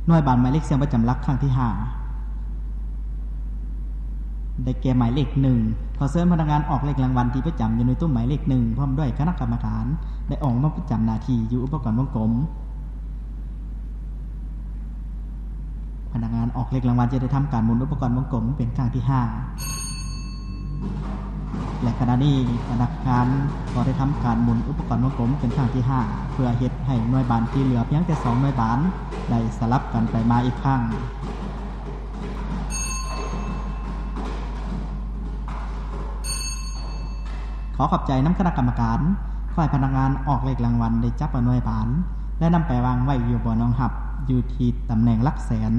ໜ່ວຍບານໝາຍເລກສ່ຽງປະຈຳຫຼັກຄັ້ງທີຫ້າ ໄດ້ແກ່ໝາຍເລກໜຶ່ງ. ຂໍເຊີນພະນັກງານອອກເລກລາງວັນທີ່ປະຈຳຢູ່ໃນຕຸ້ມໝາຍເລກໜຶ່ງ ພ້ອມດ້ວຍຄະນະກຳມະການ ໄດ້ອອກມາປະຈຳໜ້າທີ່ຢູ່ອຸປະກອນວົງກົມ. ພະນັກງານອອກເລກລາງວັນຈະໄດ້ທຳການໝູນອຸປະກອນວົງກົມເປັນຄັ້ງທີຫ້າ ແລະ ຂະນະນີ້ພະນັກງານກໍໄດ້ທຳການໝູນອຸປະກອນວົງກົມເປັນຄັ້ງທີຫ້າ ເພື່ອເຮັດໃຫ້ໜ່ວຍບານທີ່ເຫຼືອພຽງແຕ່ສອງໜ່ວຍບານໄດ້ສະຫຼັບກັນໄປມາອີກຄັ້ງ. ຂໍຂອບໃຈນຳຄະນະກຳມະການ. ຂໍໃຫ້ພະນັກງານອອກເລກລາງວັນໄດ້ຈັບເອົາໜ່ວຍບານ ແລະ ນຳໄປວາງໄວ້ຢູ່ບ່ອນຮອງຮັບ ຢູ່ທີ່ຕຳແໜ່ງຫຼັກແສນ.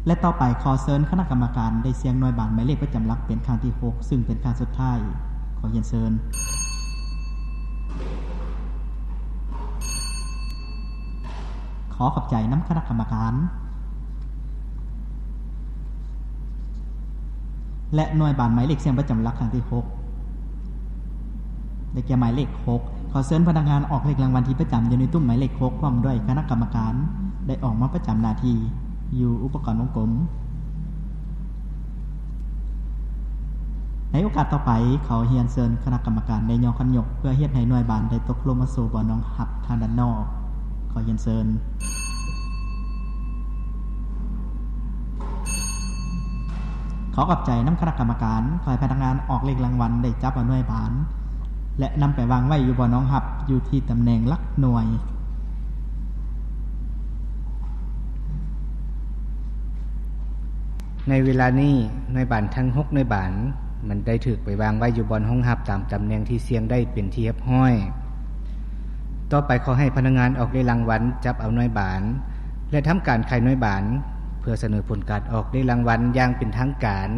ແລະ ຕໍ່ໄປຂໍເຊີນຄະນະກຳມະການໄດ້ສ່ຽງໜ່ວຍບານໝາຍເລກປະຈຳຫຼັກເປັນຄັ້ງທີຫົກ ຊຶ່ງເປັນຄັ້ງສຸດທ້າຍ. ຂໍຮຽນເຊີນ. ຂໍຂອບໃຈນຳຄະນະກຳມະການ. ແລະ ໜ່ວຍບານໝາຍເລກສ່ຽງປະຈຳຫຼັກຄັ້ງທີຫົກ ໄດ້ແກ່ໝາຍເລກຫົກ. ຂໍເຊີນພະນັກງານອອກເລກລາງວັນທີ່ປະຈຳຢູ່ໃນຕຸ້ມໝາຍເລກຫົກ ພ້ອມດ້ວຍຄະນະກຳມະການ ໄດ້ອອກມາປະຈຳໜ້າທີ່ຢູ່ອຸປະກອນວົງກົມ. ໃນໂອກາດຕໍ່ໄປ, ຂໍຮຽນເຊີນຄະນະກຳມະການໄດ້ຍໍຄັນຍົກ ເພື່ອເຮັດໃຫ້ໜ່ວຍບານໄດ້ຕົກລົງມາສູ່ບ່ອນຮອງຮັບທາງດ້ານນອກ. ຂໍຮຽນເຊີນ. ຂໍຂອບໃຈນຳຄະນະກຳມະການ. ຂໍໃຫ້ພະນັກງານອອກເລກລາງວັນໄດ້ຈັບເອົາໜ່ວຍບານ ແລະ ນຳໄປວາງໄວ້ຢູ່ບ່ອນຮອງຮັບ ຢູ່ທີ່ຕຳແໜ່ງຫຼັກໜ່ວຍ. ໃນເວລານີ້, ໜ່ວຍບານທັງຫົກໜ່ວຍບານ ມັນໄດ້ຖືກໄປວາງໄວ້ຢູ່ບ່ອນຮອງຮັບຕາມຕຳແໜ່ງທີ່ສ່ຽງໄດ້ເປັນທີ່ຮຽບຮ້ອຍ. ຕໍ່ໄປຂໍໃຫ້ພະນັກງານອອກເລກລາງວັນຈັບເອົາໜ່ວຍບານ ແລະ ທຳການຂາຍໜ່ວຍບານ ເພື່ອສະເໜີຜົນການອອກເລກລາງວັນຢ່າງເປັນທາງການ.